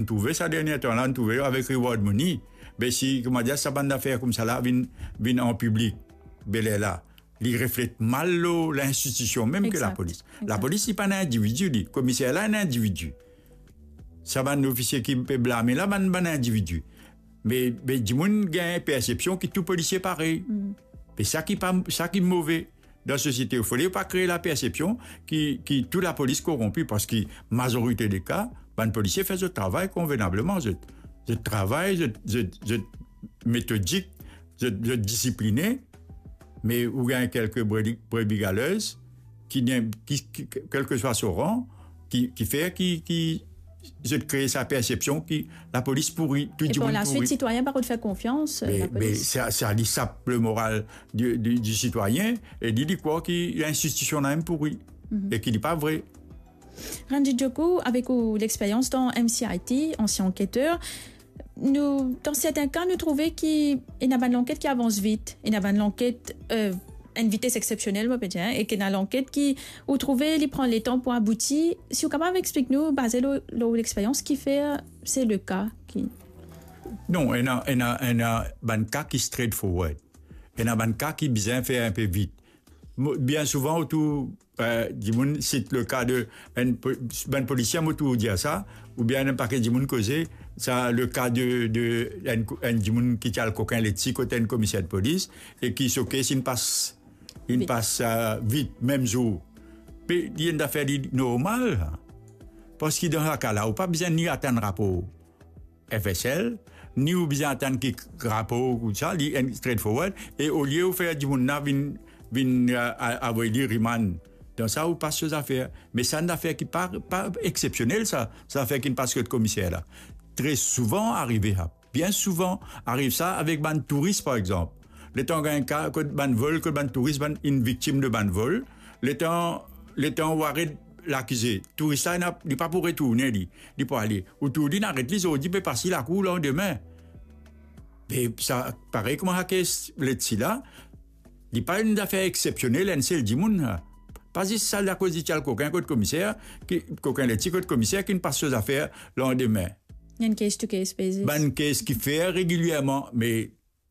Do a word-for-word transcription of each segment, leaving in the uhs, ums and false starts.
Nou trouve sa dernie tan la, nou trouve avek reward money. Be si, kouma dir, sa bann zafer koumsa la vinn, vinn an piblik, be lerla, li reflet mal lor linstitisyon mem ki Exact. Lapolis. Exact. Lapolis, li pa enn individi, li. Komiser la, enn individi. Sa bann ofisie ki pe blame la, bann, bann individi. Me, me dimoun gagn persepsyon ki tou polisie parey. Mm. Me sa ki pa, sa ki move dan sosiete. Fode pa kree lapersepsyon ki, ki tou lapolis koronpi, parski mazorite de ka, bann polisie fer zot travay konvenableman. Zot, zot travay, zot, zot, zot metodik, zot, zot disipline, me ou gagn kelke brebi, brebi galeuses ki, ki, ki, kelseswa so ran, ki, ki fer ki, ki zot kree sa persepsyon ki lapolis pouri, tou dimoun pouri. E par laswit, sitwayin pa rod fer konfians, euh, Me, me lapolis. Sa, sa li sap lemoral di, di, di sitwayin, e li, li krwar ki linstitisyon la mem pouri, Mhm. e ki li pa vre. Ranjit Djoku, avek ou lexperyans dan M C I T, ansien anketer, nou, dan sertin ka, nou trouve ki ena bann lanket ki avans vit, ena bann lanket, euh, enn vites exsepsionel, mo pe dir, hein, e ki ena lanket ki, ou trouve, li pran letan pou abouti. Si ou kapav explik nou, baze lor, lor lexperyans, ki fer se le ka ki Non, ena, ena, ena bann ka ki straightforward. Ena bann ka ki bizin fer inpe vit. Mo, bien souvan, ou trouv, euh, dimoun sit le ka de enn po-, bann polisie, mo trouv dir sa, oubien enn paket dimoun koze, sa le ka de, de enn ko-, enn dimoun ki ti al kokin leti kot enn komiser de polis, e ki so kes inn pas, inn Vit. pas, euh, vit, mem zour. Me li enn zafer li normal, parski dan sa ka la, ou pa bizin ni atann rapor F S L, ni ou bizin atann ki rapor koumsa, li enn straightforward, e olie ou fer dimoun la vinn, vinn, euh, a-, avoy li remand. Dan sa, ou pas so zafer. Me sa enn zafer ki pa, pa exsepsionel, sa, sa zafer ki pas kot komiser la. Tre souvan arive sa. Bien souvan ariv sa avek bann touris, par exanp. Letan gagn ka, kot bann vol, kot bann touris, bann, inn viktim de bann vol, letan, letan ou aret lakize, touris la, ena, li pa pou retourne, li, li pou ale. Ou trouv li, inn aret li zordi, pe pas li lakour landime. Me sa, parey kouma sa kes leti la, li pa enn zafer exsepsionel, enn sel dimoun la. Pa zis sa, akoz li ti al kokin kot komiser, ki, kokin leti kot komiser, ki inn pas so zafer landime. Enn case to case basis. Bann kes ki fer regilierman, me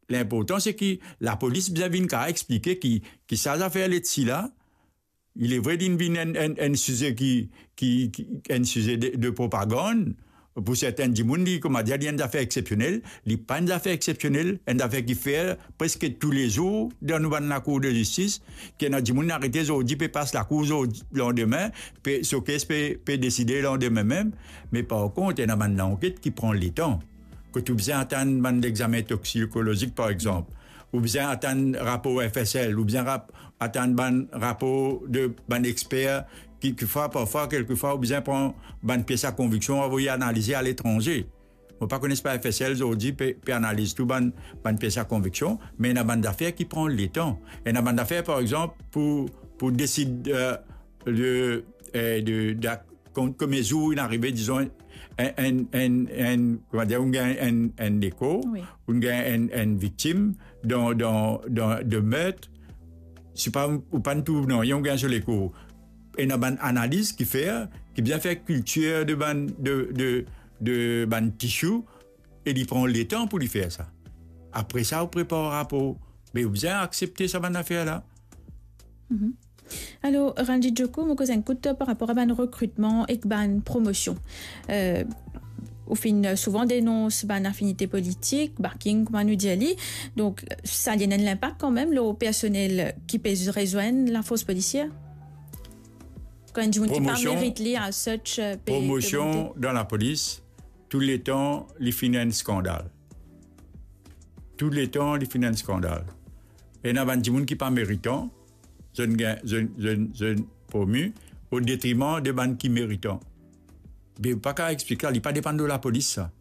linportan se ki lapolis bizin vinn kapav explike ki, ki sa zafer leti la, il est vrai, li vinn enn, enn, enn size ki, ki, ki, enn size de, de propagann. Pou sertin dimoun, li, kouma dir, li enn zafer exsepsionel. Li pa enn zafer exsepsionel, enn zafer ki fer preske toulezour dan nou bann lakour de zistis, ki ena dimoun arete zordi, pe pas lakour zordi, landime, pe, so kes pe, pe deside landime mem. Me par kont, ena bann lanket ki pran letan. Kot ou bizin atann bann lexame toxikolozik, par exanp, ou bizin atann rapor F S L, ou bizin rap-, atann bann rapor de bann exper ki, ki fwa, parfwa, kelkefwa, ou bizin pran bann pies a konviksion, avoy analize aletranze. Mo pa kone si pa F S L zordi pe, pe analiz tou bann, bann pies a konviksion, me ena bann zafer ki pran letan. Ena bann zafer, par exanp, pou, pou desid, euh, de, euh, de, de, kom, kom zour inn arive, dizon, enn, enn, enn, enn, kouma dir, ou gagn enn, enn lekor, Wi. ou gagn enn, enn viktim dan, dan, dan de mert, si pa, ou pa trouv nanye, ou gagn so lekor. Ena bann analiz ki fer, ki bizin fer kiltir de bann, de, de, de bann tissue, e li pran letan pou li fer sa. Apre sa, ou prepar rapor. Me ou bizin aksepte sa bann zafer la. Mhm. Alor, Ranjit Djoku, mo koz enn kout par rapor a bann rekritman ek bann promosion. Euh, ou finn souvan denons bann afinite politik, backing, kouma nou dir li. Donk, sa li ena enn linpak kanmem lor personel ki pe rezwenn lafors polisier? Kan enn dimoun ki pa Promosion, merit li, as such, euh, pe, pe promosion monte. Dan lapolis, touletan, li finn enn skandal. Touletan, li finn enn skandal. Ena bann dimoun ki pa meritan, zot gagn, zot, zot, zot promi, o detriman de bann ki meritan. Me ou pa kapav explik sa, li pa depann lor lapolis, sa.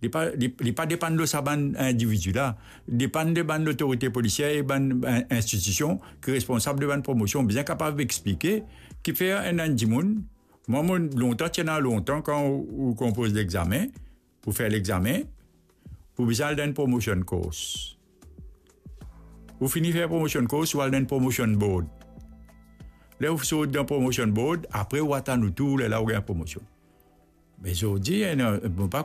Li pa, li, li pa depann lor sa bann individi la. Li depann de bann lotorite polisier e bann, bann institision ki responsab de bann promosion. Bizin kapav explike ki fer enn, enn dimoun, mwa, mo lontan, ti ena lontan, kan ou, ou konpoz lexame, ou fer lexame, ou bizin al dan enn promotion course. Ou fini fer promotion course, ou al dan enn promotion board. Ler ou sort dan promotion board, apre ou atann ou tour, lerla ou gagn promosion. Me zordi, eh, non, mo pa